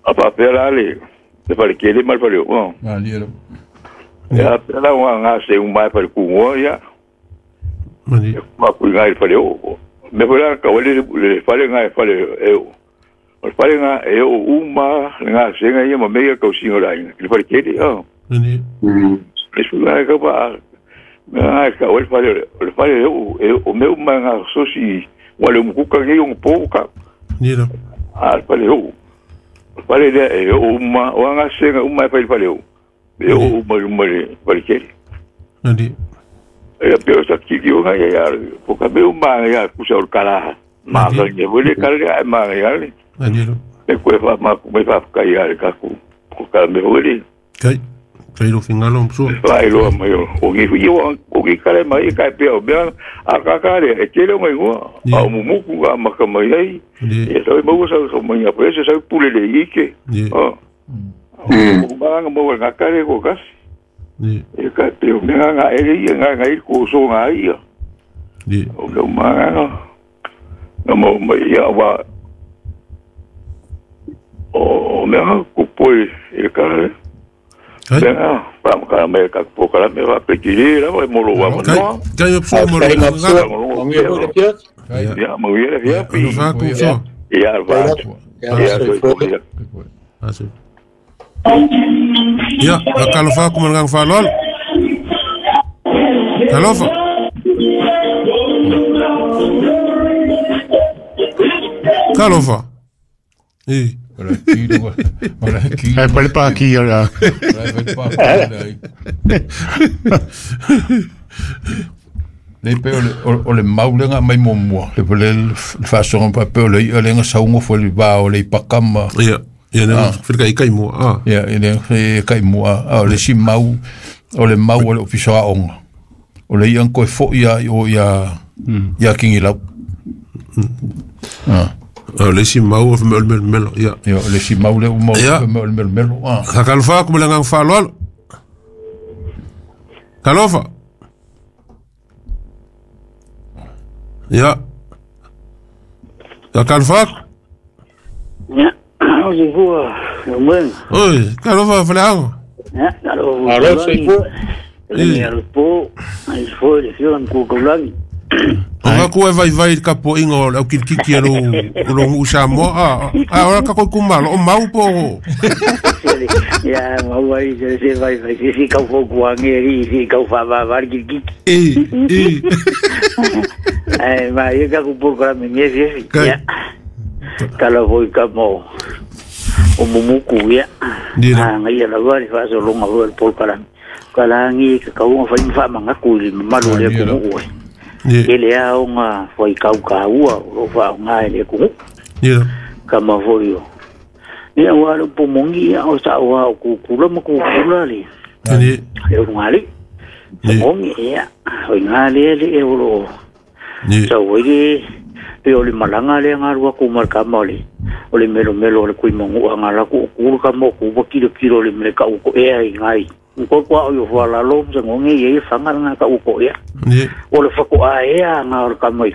A pa pe la le. Le fale ke le mal fale o. Ah ni. Ya pe la wa nga se un mai fale ku wa ya. Ni. Ma ku ngai fale o. Me foi la ka le le fale ngai fale e o. O fale nga e o uma nga se nga ia ma me ka o singo la inga. Le fale ke le o. Ni. Le su nga ka pa nga ka o fale o fale o o me uma nga sosi wa le muku ka ngi o po ka. Ni do. A fale o. Fale le e o uma o nga se nga uma fale fale o. E o uma uma le fale ke. Ni. E pe o sa ki ki o nga ya po ka me uma ya ku sa o kala. Ma ka ne vole kala ya ma ya le. Ni do. E ko fa ma ku me fa ka ya ka ku ko ka me vole. Kai. Kai lo fingalo mso. Vai lo mai o ngi fu yo o ngi kale mai ka pe o bia a ka ka le e tele ngai ngo a mu mu ku a ma ka mai ai. E so mo sa so mai a pese sa pule le ike. O. O ba nga mo nga ka le ko kas. Ni. E ka pe o nga nga e le nga nga i ko so nga ia. Ni. O lo ma nga. No mo mai ia wa o me ha ku poi e ka le. Ya, pa ka me ka po ka me va pe kiri la mo lo wa mo. Kai opso mo lo nga. Ya, mo ye ya pi. No fa ku so. Ya va. Ya so. Asi. Ya, ka lo fa ku mo ngang fa lol. Ka lo fa. Ka lo fa. Eh. Ai pale pa ki ya. Le pe o le o le mau le nga mai mo mo le le le façon pa pe o le o le nga saungo fo le ba o le pakama ia ia ne fil kai kai mo ah ia le kai mo a o le si mau o le mau o le ofisa a onga o le ia ko fo ia o ia ia kingi lau ah o le si mau o mel mel mel ia ia le si mau le o mau mel mel mel ah ka kalfa ko le ngang fa lol kalofa ya ya kalfa ya o se fua mwen oi kalofa flango ya alo alo se fua le alo po ai fo le fio ku ku langi o ku e vai vai ka po ingo au kiki alo lo usa mo a a ora ka ko kumalo o mau po ya mau vai se se vai vai se se ka fo ku ange ri se ka fa va va kiki e e ai ma ye ka ku por ka me me se ya kala voi ka mo o mumuku ya a ngai la va fa so longa vo por kala kala ngi ka ka fa fa manga ku le malu le ku ku ele a unga foi kau kaua o fa unga ele ku yeah kama foi o ia wa lo pomongi o sa wa ku ku lo ku ku la le ni e unga le pomongi ia o nga le le e o ni sa o le pe o le malanga le nga rua ku mar kama le o le melo melo le kui mongu nga la ku ku ka mo ku ba kilo kilo le me ka ko e ai ngai ko kwa o yo la lo sa ngonge ye fanga nga ka uko ya ni o le fa ko a e nga ka mai